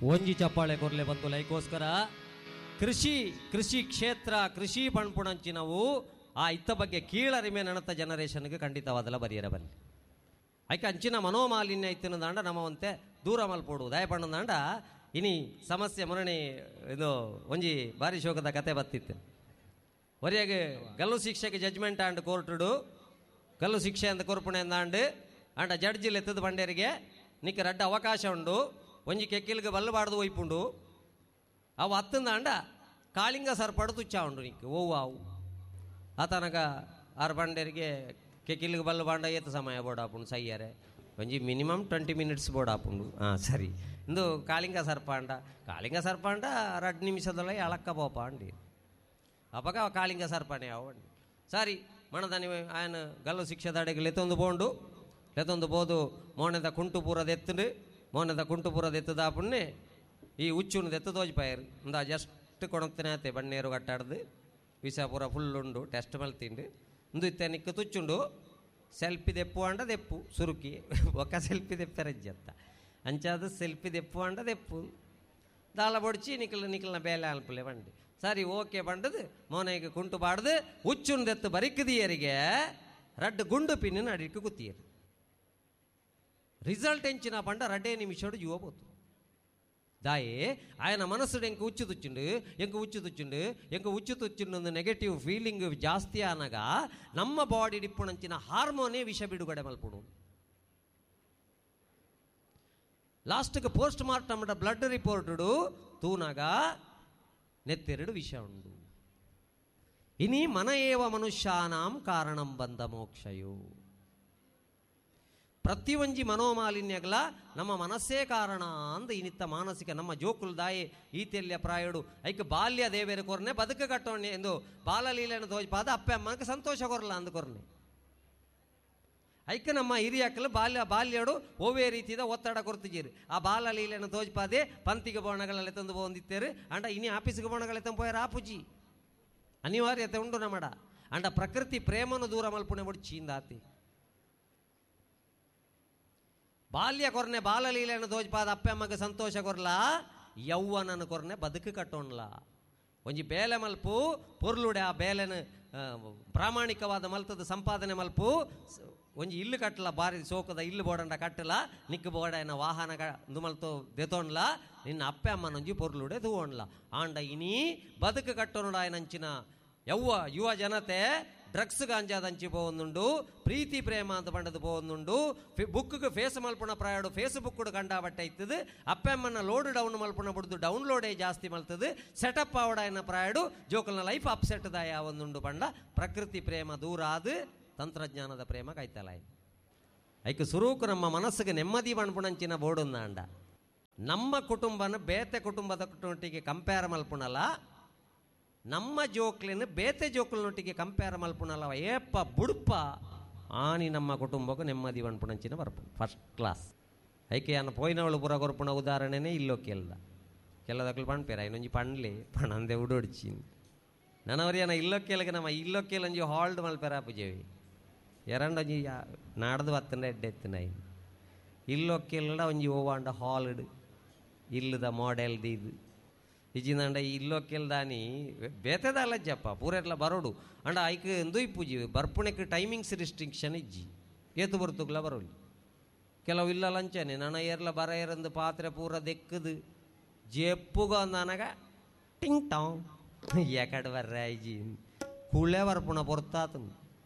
ಒಂಜಿ ಚಪ್ಪಾಳೆ ಕೊರ್ಲೆ ಬಂತು ಲೈಕೋಸ್ಕರ. ಕೃಷಿ ಕೃಷಿ ಕ್ಷೇತ್ರ ಕೃಷಿ ಪಣ್ಪುಣಂಚಿನವು ಆ ಇತ್ತ ಬಗ್ಗೆ ಕೀಳರಿಮೆ ನನತ ಜನರೇಷನ್ಗೆ ಖಂಡಿತವಾದಲ ಬರಿಯರ ಬಲ್ಲಿ. ಐಕೆ ಅಂಚಿನ ಮನೋಮಾಲಿನ್ಯ ಇತ್ತಿನದಾಂಡ ನಮ್ಮವಂತೆ ದೂರ ಮಲ್ಪೋಡು ದಯಪಣ್ಣದಾಂಡ ಇನಿ ಸಮಸ್ಯೆ ಮೊರಣಿ ಇದು ಒಂಜಿ ಬಾರಿ ಶೋಕದ ಕತೆ ಬತ್ತಿತ್ತು. ಒರಿಯಾಗ ಗಲ್ಲು ಶಿಕ್ಷೆಗೆ ಜಡ್ಜ್ಮೆಂಟ್ ಆಂಡ್ ಕೋರ್ಟುಡು ಗಲ್ಲು ಶಿಕ್ಷೆ ಅಂತ ಕೊರ್ಪುಣೆ ಅಂದಾಂಡು ಆಂಡ ಜಡ್ಜ್ ಎತ್ತದ ಬಂಡೇರಿಗೆ ನಿಕ್ಕ ರಡ್ಡ ಅವಕಾಶ ಉಂಡು, ಒಂಜಿ ಕೆಕ್ಕಿಲ್ಗೆ ಬಲ್ಲು ಬಾಡ್ದು ಒಯ್ಪುಂಡು, ಅವು ಅತ್ತಂದಾಂಡ ಕಾಳಿಂಗ ಸರ್ಪಡು ತುಚ್ಚ ಉಂಡು ನಿಕ್ಕ ಓವು ಅವು ಆತನಕ ಆರು ಬಂಡೇರಿಗೆ ಕೆಕ್ಕಿಲ್ಗೆ ಬಲ್ಲು ಬಾಂಡ ಏತ ಸಮಯ ಬೋಡಾಪುಂಡು ಸೈಯರೆ ಒಂಜಿ ಮಿನಿಮಮ್ 20 ಮಿನಿಟ್ಸ್ ಬೋಡಾಪುಂಡು. ಹಾಂ ಸರಿ ಇಂದು ಕಾಳಿಂಗ ಸರ್ಪಾಂಡ ಕಾಳಿಂಗ ಸರ್ಪಾಂಡ 2 ನಿಮಿಷದೊಳಗೆ ಅಳಕ್ಕ ಪೋಪ ಅಂಡಿ ಅಪಗ ಕಾಳಿಂಗ ಸರ್ಪಣೆ ಅವಂಡಿ. ಸರಿ ಮಣದಾನಿ ఆయన ಗಲ್ಲು ಶಿಕ್ಷೆದಾಡೆಗೆ ಲೆತ್ತೊಂದು ಪೋಂಡು ಲೆತ್ತೊಂದು ಪೋದು ಮೋನೆದ ಕುಂಟುಪೂರದ ಎತ್ತುಂಡು ಮೋನೆದ ಕುಂಟುಪೂರದ ಎತ್ತದಾಪುಣ್ಣೆ ಈ ಉಚ್ಚುನು ಎತ್ತು ತೋಜಿಪಾಯರು ಇಂದ ಜಸ್ಟ್ ಕೊಣತ್ತನೇ ಆತೆ ಬಣ್ಣೇರು ಕಟ್ಟಾಡ್ದು ವಿಷಪುರ ಫುಲ್ ಉಂಡು ಟೆಸ್ಟ್ ಮಲ್ತಿಂಡು ಇಂದು ಇತ್ತೆ ನಿಕ್ಕು ತುಚ್ಚುಂಡು ಸೆಲ್ಫಿ ದೆಪ್ಪು ಅಂಡ ದೆಪ್ಪು ಸುರುಕಿ ಒಕ್ಕ ಸೆಲ್ಫಿ ದೆಪ್ಪರಜ್ಜತ್ತ ಅಂಚಾದ ಸೆಲ್ಫಿ ದೆಪ್ಪು ಅಂಡ ದೆಪ್ಪು ದಾಳ ಬೊಡ್ಚಿ ನಿಕ್ಲ ನಿಕ್ಲನ ಬೇಲೆ ಅಲ್ಪಲೆ ಬಂಡಿ ಸರಿ ಓಕೆ ಬಂಡದು ಮೋನೆಗೆ ಕುಂಟು ಬಾಡ್ದು ಉಚ್ಚುನ್ ದೆತ್ತು ಬರಿಕ್ಕದಿಯರಿಗೆ ರಡ್ಡು ಗುಂಡು ಪಿನ್ನ ಅಡಿಕ್ಕೆ ಕುತ್ತಿಯರು. ರಿಸಲ್ಟ್ ಎಂಚಿನ ಪಂಡ 2 ನಿಮಿಷಡು ಜೀವ ಪೋತು. ದಾಯೆ ఆయన మనసుడు ఎంక ఉచ్చు తుచ్చిండు ఎంక ఉచ్చు తుచ్చిండు ಎಂಕ ಉಚ್ಚು ತುಚ್ಚಿಂಡು ನೆಗೆಟಿವ್ ಫೀಲಿಂಗ್ ಜಾಸ್ತಿ ಆನಗ ನಮ್ಮ ಬಾಡಿ ಡಿಪ್ಪುಣಂಚಿನ ಹಾರ್ಮೋನೇ ವಿಷ ಬಿಡುಗಡೆ ಮಲ್ಪುಡು. ಲಾಸ್ಟ್ಗೆ ಪೋಸ್ಟ್ ಮಾರ್ಟಮ್ ಬ್ಲಡ್ ರಿಪೋರ್ಟುಡು ತೂನಾಗ ನೆತ್ತೆರಡು ವಿಷ ಉಂಡು. ಇನಿ ಮನ ಏವ ಮನುಷ್ಯಾನಾಂ ಕಾರಣಂ ಬಂದ ಮೋಕ್ಷಯು. ಪ್ರತಿಯೊಂಜಿ ಮನೋಮಾಲಿನ್ಯಗಳ ನಮ್ಮ ಮನಸ್ಸೇ ಕಾರಣ ಅಂದ ಇನಿತ್ತ ಮಾನಸಿಕ ನಮ್ಮ ಜೋಕುಲ್ ದಾಯಿ ಈತೆಲ್ಯ ಪ್ರಾಯಡು ಐಕ್ ಬಾಲ್ಯ ದೇವೇರ ಕೊರ್ನೆ ಬದುಕು ಕಟ್ಟೋಣೆ ಎಂದು ಬಾಲಲೀಲೆಯನ್ನು ತೋಜ್ಪಾದ ಅಪ್ಪೆ ಅಮ್ಮಕ್ಕೆ ಸಂತೋಷ ಕೊರಲ್ಲ ಅಂದ ಕೊರ್ನೆ. ಐಕ್ ನಮ್ಮ ಹಿರಿಯಕ್ಕಲು ಬಾಲ್ಯ ಬಾಲ್ಯಡು ಓವೇ ರೀತಿದ ಒತ್ತಡ ಕೊರ್ತಿಜೀರು ಆ ಬಾಲಲೀಲೆಯನ್ನು ತೋಜ್ಪಾದೆ ಪಂತಿಗೆ ಬೋಣಗಳೆಲ್ಲ ತಂದು ಬಂದಿತ್ತೇರು ಅಂಡ ಇನಿ ಆಫೀಸ್ಗೆ ಬೋಣಗಳೆ ತಂದು ಆಪುಜಿ ಅನಿವಾರ್ಯತೆ ಉಂಡು ನಮ್ಮಡ ಅಂಡ ಪ್ರಕೃತಿ ಪ್ರೇಮನು ದೂರ ಮಲ್ಪುಣೆ ಬಿಡು ಚೀಂದಾತಿ. ಬಾಲ್ಯ ಕೊರ್ನೆ ಬಾಲಲೀಲೆಯನ್ನು ತೋಜ್ಪಾದ ಅಪ್ಪೆ ಅಮ್ಮಗೆ ಸಂತೋಷ ಕೊರ್ಲ ಯೌವನನು ಕೊರ್ನೆ ಬದುಕು ಕಟ್ಟೋಣ್ಲ. ಒಂಜಿ ಬೇಲೆ ಮಲ್ಪು ಪೊರ್ಲುಡೆ ಆ ಬೇಲೆನ ಪ್ರಾಮಾಣಿಕವಾದ ಮಲ್ತದ ಸಂಪಾದನೆ ಮಲ್ಪು ಒಂಜಿ ಇಲ್ಲು ಕಟ್ಟಲ ಬಾರಿ ಸೋಕದ ಇಲ್ಲು ಬೋಡಂಡ ಕಟ್ಟಲ ನಿಕ್ಕು ಬೋಡನ ವಾಹನ ದುಮಲ್ತೋ ದೆತೋಣ್ಲ ನಿನ್ನ ಅಪ್ಪೆ ಅಮ್ಮನೊಂಜಿ ಪೊರ್ಲುಡೆ ತೂವಣ್ಲ. ಆಂಡ ಇನಿ ಬದುಕು ಕಟ್ಟೋಣ ಆಯನಂಚಿನ ಯವ್ವ ಯುವ ಜನತೆ ಡ್ರಗ್ಸ್ ಗಾಂಜಾದಂಚಿ ಪೋವೊಂದುಂಡು ಪ್ರೀತಿ ಪ್ರೇಮ ಅಂತ ಬಂಡದು ಪೋವೊಂದುಂಡು ಬುಕ್ಗೆ ಫೇಸ್ ಮಲ್ಪುಣ ಪ್ರಾಯಡು ಫೇಸ್ಬುಕ್ ಕಂಡಾಬಟ್ಟೆ ಇತ್ತದು ಅಪ್ಪೆಮ್ಮನ ಲೋಡ್ ಡೌನ್ ಮಲ್ಪುಣ ಬಿಡ್ದು ಡೌನ್ಲೋಡೇ ಜಾಸ್ತಿ ಮಲ್ತದು ಸೆಟಪ್ ಆವಡಾಯನ ಪ್ರಾಯಡು ಜೋಕಲ್ನ ಲೈಫ್ ಅಪ್ಸೆಟ್ ದಾಯ ಒಂದುಂಡು ಪಂಡ ಪ್ರಕೃತಿ ಪ್ರೇಮ ದೂರ ಆದು ತಂತ್ರಜ್ಞಾನದ ಪ್ರೇಮ ಕಾಯ್ತಲ್ಲ. ಐಕ್ ಸುರೂಕು ನಮ್ಮ ಮನಸ್ಸಿಗೆ ನೆಮ್ಮದಿ ಪಣ್ಪುಣಂಚಿನ ಬೋಡುಂದಾಂಡ ನಮ್ಮ ಕುಟುಂಬನ ಬೇತೆ ಕುಟುಂಬದ ಒಟ್ಟಿಗೆ ಕಂಪೇರ್ ಮಲ್ಪುಣಲ್ಲ ನಮ್ಮ ಜೋಕ್ಲಿನ ಬೇತೆ ಜೋಕ್ಲಿನೊಟ್ಟಿಗೆ ಕಂಪೇರ್ ಮಲ್ಪುಣಲ್ಲ ಏಪ್ಪ ಬುಡುಪ ಆನಿ ನಮ್ಮ ಕುಟುಂಬಕ್ಕೂ ನೆಮ್ಮದಿ ಪಣ್ಪುಣಂಚಿನ ಬರ್ಪು ಫಸ್ಟ್ ಕ್ಲಾಸ್. ಐಕೆ ಅನ್ನ ಪೋಯಿನವಳು ಪುರ ಕೊರ್ಪುಣ ಉದಾಹರಣೆನೇ ಇಲ್ಲೋ ಕೆಲ್ದ ಕೆಲದಕ್ಲು ಪಣ್ಪೇರ ಐನೊಂಜಿ ಪಣ್ಲಿ ಪಣಂದೆ ಉಡೋಡ್ಚಿ ನನವರಿಯನ ಇಲ್ಲೋ ಕೇಳಗೆ ನಮ್ಮ ಇಲ್ಲೋ ಕೇಳಂಜಿ ಹಾಲ್ಡ್ ಮಲ್ಪೆರ ಪೂಜೆವಿ ಎರಡೊಂಜಿ ನಾಡ್ದು ಬತ್ತಂಡ ಎಡ್ಡೆ ಎತ್ತಿನ ಇಲ್ಲೋ ಕೇಳಡ ಒಂಜಿ ಓವಾಂಡ ಹಾಲ್ಡ್ ಇಲ್ಲದ ಮಾಡೆಲ್ ಇದು ಇಜ್ಜಿಂದಂಡ ಇಲ್ಲೋ ಕೇಳ್ದಾನಿ ಬೇತೆದ ಅಲ್ಲಜ್ಜಪ್ಪ ಪೂರೆಟ್ಲ ಬರೋಡು ಅಂಡ ಐಕ್ ಎಂದೂ ಪೂಜಿ ಬರ್ಪುಣಕ್ಕೆ ಟೈಮಿಂಗ್ಸ್ ರಿಸ್ಟ್ರಿಕ್ಷನ್ ಇಜ್ಜಿ ಏತು ಬರ್ತುಗ್ಲ ಬರೋಲಿ ಕೆಲವು ಇಲ್ಲ ಲಂಚನೆ ನನ ಏರ್ಲ ಬರ ಏರಂದು ಪಾತ್ರೆ ಪೂರ ದೆಕ್ಕದು ಜೆಪ್ಪುಗ ಅಂದನಗ ಟಿಂಗ್ ಟಾಂಗ್ ಎಕಡೆ ಬರ್ರೆ ಇಜ್ಜಿ ಕುಳೆ ಬರ್ಪುಣ ಪೊರ್ತಾತು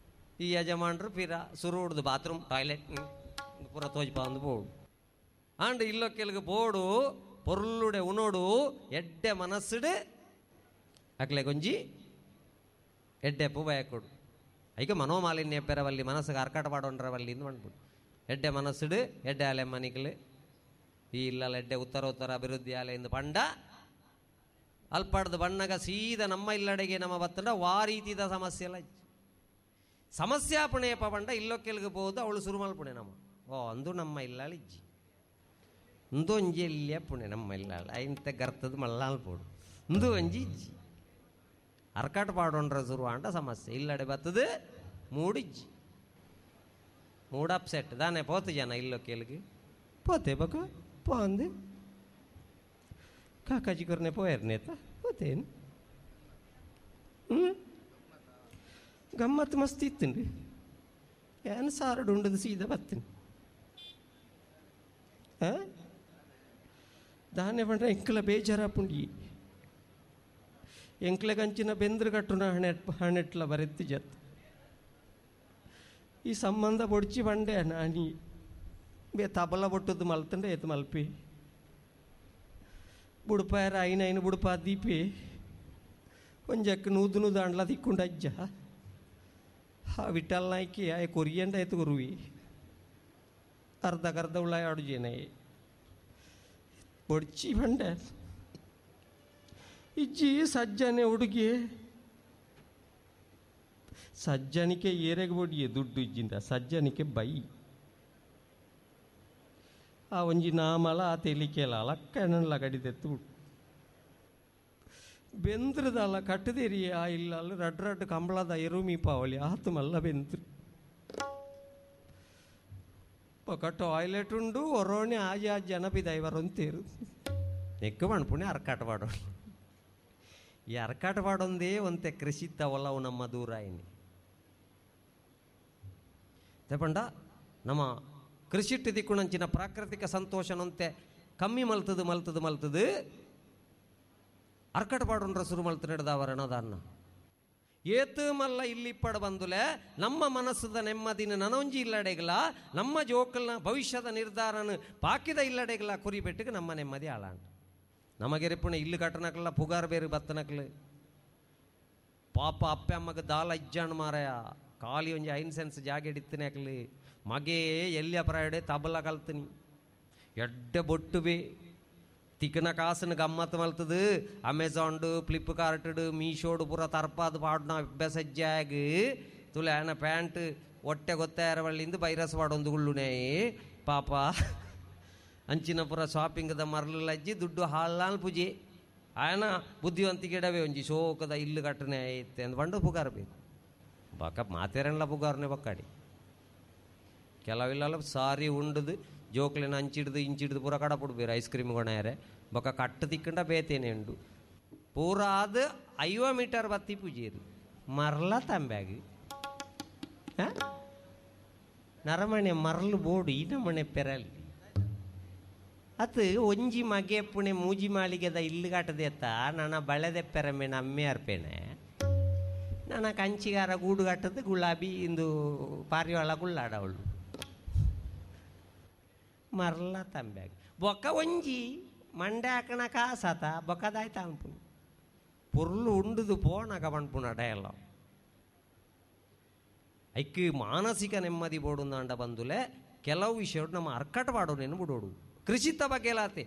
ಈ ಯಜಮಾನ್ರು ಪಿರ ಸುರು ಹಿಡ್ದು ಬಾತ್ರೂಮ್ ಟಾಯ್ಲೆಟ್ ಪೂರ ತೋಜ್ಪ ಅಂದು ಬೋಡು ಅಂಡ್ ಇಲ್ಲೋ ಕೆಲಗ ಬೋಡು ಪೊರ್ಲುಡೆ ಉಣೋಡು ಎಡ್ಡೆ ಮನಸ್ಸುಡು ಅಕ್ಲೆ ಗೊಂಜಿ ಎಡ್ಡೆ ಪೂ ಬಯಕೊಡು ಐಕ ಮನೋಮಾಲಿನ್ಯ ಪೆರವಲ್ಲಿ ಮನಸ್ಸಿಗೆ ಅರ್ಕಾಟ ಪಾಡೋಣ್ರವಲ್ಲಿ ಇಂದು ಅಂದ್ಬಿಡು ಎಡ್ಡೆ ಮನಸ್ಸುಡು ಎಡ್ಡೆ ಆಲೆ ಮನಿಕಲು ಈ ಇಲ್ಲಲ್ಲ ಎಡ್ಡೆ ಉತ್ತರ ಉತ್ತರ ಅಭಿವೃದ್ಧಿ ಆಲೆ ಇಂದು ಪಂಡ ಅಲ್ಪಾಡ್ದು ಬಣ್ಣಗ ಸೀದ ನಮ್ಮ ಇಲ್ಲಡೆಗೆ ನಮ್ಮ ಬತ್ತಂಡ ವಾ ರೀತಿದ ಸಮಸ್ಯೆ ಎಲ್ಲ ಸಮಸ್ಯೆ ಪುಣೆಯಪ್ಪ ಪಂಡ ಇಲ್ಲೋ ಕೆಲ್ಗೆ ಹೋದು ಅವಳು ಸುರುಮಲ್ ಪುಣೆ ನಮ್ಮ ಓ ಅಂದು ನಮ್ಮ ಇಲ್ಲಾಳ ಇಜ್ಜಿ ಇಂದು ಒಂಜಿ ಎಲ್ಲಿಯ ಪುಣೆ ನಮ್ಮ ಇಲ್ಲಾಳ ಇಂತ ಗರ್ತದ ಮಲ್ಲಾಲ್ ಪೋಡು ಇಂದು ಒಂಜಿ ಇಜ್ಜಿ ಅರ್ಕಾಟ್ ಪಾಡೋಣ್ರ ಸುರು ಅಂಡ ಸಮಸ್ಯೆ ಇಲ್ಲಡೆ ಬತ್ತದು ಮೂಡಿಜ್ಜಿ ಮೂಡ್ ಅಪ್ಸೆಟ್ ದಾನೆ ಪೋತು ಜನ ಇಲ್ಲೋ ಕೇಳಿಗೆ ಪೋತೆ ಬಕ ಪೋ ಅಂದು ಕಾಕಾಜಿ ಕೊರ್ನೆ ಪೋಯರ್ನೇತ ಹೋತೇನು ಹ್ಞೂ ಗಮ್ಮತ್ತು ಮಸ್ತ್ ಇತ್ತುಂಡು ಏನು ಸಾರಡು ಉಂಡದು ಸೀದಾ ಬತ್ತೀನಿ ಹಾಂ ದಾನೆ ಪಂಡ್ರೆ ಎಂಕಲ ಬೇಜಾರಾಪುಂಡಿ ಎಂಕ್ಲೆ ಕಂಚಿನ ಬೆಂದ್ರ ಕಟ್ಟುನ ಹಣೆ ಹಣೆಟ್ಲ ಬರೆತ್ತಿ ಜತ್ ಈ ಸಂಬಂಧ ಬೊಡ್ಚಿ ಬಂಡೆ ನಾನಿ ಬೇ ತಬಲ ಬೊಟ್ಟದ್ದು ಮಲ್ತಂಡೆ ಏತು ಮಲ್ಪಿ ಬುಡುಪಾಯರ ಐನ ಐನ ಬುಡುಪ ದೀಪಿ ಒಂಜಕ್ಕೆ ನೂದು ನೂದು ಅಂಡ್ಲ ತಿಕ್ಕೊಂಡು ಅಜ್ಜ ಆ ವಿಠಲ್ ನಾಯ್ಕಿ ಆಯ ಕೊರಿಯಂಡ ಆಯ್ತು ಕೊರುವಿ ಅರ್ಧಕರ್ಧ ಉಳ್ಳ ಆಡುಜೇನೆ ಬೊಡ್ಚಿ ಬಂಡೆ ಇಜ್ಜಿ ಸಜ್ಜನೆ ಹುಡುಗಿ ಸಜ್ಜನಿಕೆ ಏರೆಗೆ ಬೊಡಿಯೆ ದುಡ್ಡು ಇಜ್ಜಿಂದ ಸಜ್ಜನಿಕೆ ಬೈ ಆ ಒಂಜಿ ನಾಮಲ ಆ ತೆಲಿಕೆಲ ಲಕ್ಕನಲ್ಲ ಕಡಿದೆತ್ತು ಬೆಂದ್ರದಲ್ಲ ಕಟ್ಟದೇರಿ ಆ ಇಲ್ಲ ಅಲ್ಲ ರಡ್ ರಡ್ ಕಂಬಳದ ಎರುಮಿ ಪಾವಲಿ ಆತು ಮಲ್ಲ ಬೆಂದ್ರು ಪೊಕ ಟಾಯ್ಲೆಟ್ ಉಂಡು ಒರೋಣೆ ಆಜಿ ಆ ಜನ ಬಿದೈವರೊಂತೇರು ನೆಕ್ಕು ಮಣ್ಪುಣೆ ಅರ್ಕಾಟ ಪಾಡೋಣ ಈ ಅರ್ಕಾಟ ಪಾಡೊಂದೇ ಒಂತೆ ಕೃಷಿತ್ತ ಒಲವು ನಮ್ಮ ದೂರಾಯಿನಿ ತಪಂಡ ನಮ್ಮ ಕೃಷಿಟ್ಟು ದಿಕ್ಕುಣಂಚಿನ ಪ್ರಾಕೃತಿಕ ಸಂತೋಷನಂತೆ ಕಮ್ಮಿ ಮಲ್ತದು ಮಲ್ತದು ಮಲ್ತದು ಅರ್ಕಟ ಪಾಡುಂಡ್ರ ಸುರು ಮಲ್ತು ನಡೆದವರಣದನ್ನ ಏತು ಮಲ್ಲ ಇಲ್ಲಿ ಪಡ ಬಂದುಲೆ ನಮ್ಮ ಮನಸ್ಸದ ನೆಮ್ಮದಿನ ನನೊಂಜಿ ಇಲ್ಲಡೆಗಲ ನಮ್ಮ ಜೋಕಲ್ನ ಭವಿಷ್ಯದ ನಿರ್ಧಾರನ ಪಾಕಿದ ಇಲ್ಲಡೆಗಲ ಕುರಿಬೆಟ್ಟಿಗೆ ನಮ್ಮ ನೆಮ್ಮದಿ ಆಳಾಂಡ ನಮಗೆರೆಪುಣೆ ಇಲ್ಲು ಕಟ್ಟನಕ್ಲ ಪುಗಾರ್ ಬೇರೆ ಬತ್ತನಕ್ಲು ಪಾಪ ಅಪ್ಪೆ ಅಮ್ಮಗ ದಾಲ ಇಜ್ಜಾಣ್ ಮಾರಾಯ ಖಾಲಿ ಒಂಜಿ ಐನ್ ಸೆನ್ಸ್ ಜಾಗೆಡಿತ್ತನೆ ಅಕ್ಲಿ ಮಗೆ ಎಲ್ಲಿ ಅಪರಾಯಡೆ ತಬಲ ಕಲ್ತನಿ ಎಡ್ಡೆ ಬೊಟ್ಟು ಬೇ ತಿಕ್ಕನ ಕಾಸನ್ನು ಗಮ್ಮತ್ತು ಮಲ್ತದು ಅಮೆಝಾನ್ಡು ಫ್ಲಿಪ್ಕಾರ್ಟ್ಡು ಮೀಶೋಡು ಪೂರ ತರ್ಪಾದು ಪಾಡ್ನ ಅಭ್ಯಾಸಜ್ಜಾಗ ತುಲೆ ಆನ ಪ್ಯಾಂಟ್ ಹೊಟ್ಟೆ ಗೊತ್ತಾರ ಬಳ್ಳಿಂದ ಬೈರಸ್ ಪಾಡೊಂದು ಗುಳ್ಳುನೇ ಪಾಪ ಅಂಚಿನ ಪೂರ ಶಾಪಿಂಗ್ದ ಮರಳು ಲಜ್ಜಿ ದುಡ್ಡು ಹಾಲಾಲ್ ಪೂಜೆ ಆಯನ ಬುದ್ಧಿವಂತಿಕೆಡವೆ ಒಂಜಿ ಶೋಕದ ಇಲ್ಲು ಕಟ್ಟನೆ ಐತೆ ಅಂದ್ ಬಂಡು ಪುಗಾರ ಬೇಕು ಬಕ ಮಾತೇರನ್ಲ ಪುಗಾರನೆ ಬಕ್ಕಾಡಿ ಕೆಲವಿಲ್ಲ ಸಾರಿ ಉಂಡದು ಜೋಕ್ಲೆನ ಅಂಚಿಡ್ದು ಇಂಚಿಡ್ದು ಪೂರ ಕಡಪುಡ್ಬೇರು ಐಸ್ ಕ್ರೀಮ್ ಕೊಣಾರೆ ಬೊಕ ಕಟ್ಟು ತಿಕ್ಕಂಡ ಬೇತೇನೆ ಉಂಡು ಪೂರ ಅದು 50 ಮೀಟರ್ ಬತ್ತಿ ಪೂಜೆರು ಮರಲ ತಂಬ್ಯಾಗ ನರಮಣೆ ಮರಲು ಬೋಡು ಈ ನಮಣೆ ಪೆರಲ್ ಅತ್ ಒಂಜಿ ಮಗೆ ಪುಣೆ ಮೂಜಿ ಮಾಳಿಗೆದ ಇಲ್ಲು ಕಟ್ಟದೆತ್ತ ನನ್ನ ಬಳೆದೆ ಪೆರಮೆ ನಮ್ಮೆ ಅರ್ಪೇನೆ ನನ್ನ ಕಂಚಿಗಾರ ಗೂಡು ಕಟ್ಟದು ಗುಲಾಬಿ ಇಂದು ಪಾರಿವಾಳ ಗುಳ್ಳಾಡವಳು ಮರಲ ತಂಬ್ಯಾಗ ಬೊಕ್ಕ ಒಂಜಿ ಮಂಡೆ ಹಾಕಣ ಕಾಸಾತ ಬೊಕ್ಕದಾಯ್ತ ಅನ್ಪುನು ಪೊರ್ಲು ಉಂಡುದು ಪೋಣಗ ಪನ್ಪುನ ಡಯಲಾಗ್ ಐಕ್ ಮಾನಸಿಕ ನೆಮ್ಮದಿ ಬೋಡುಂದಾಂಡ ಬಂದುಲೆ ಕೆಲವು ವಿಷಯ ನಮ್ಮ ಅರ್ಕಟ ಪಾಡೋನೇನು ಬಿಡೋಡು ಕೃಷಿತ ಬಗ್ಗೆ ಲಾತೆ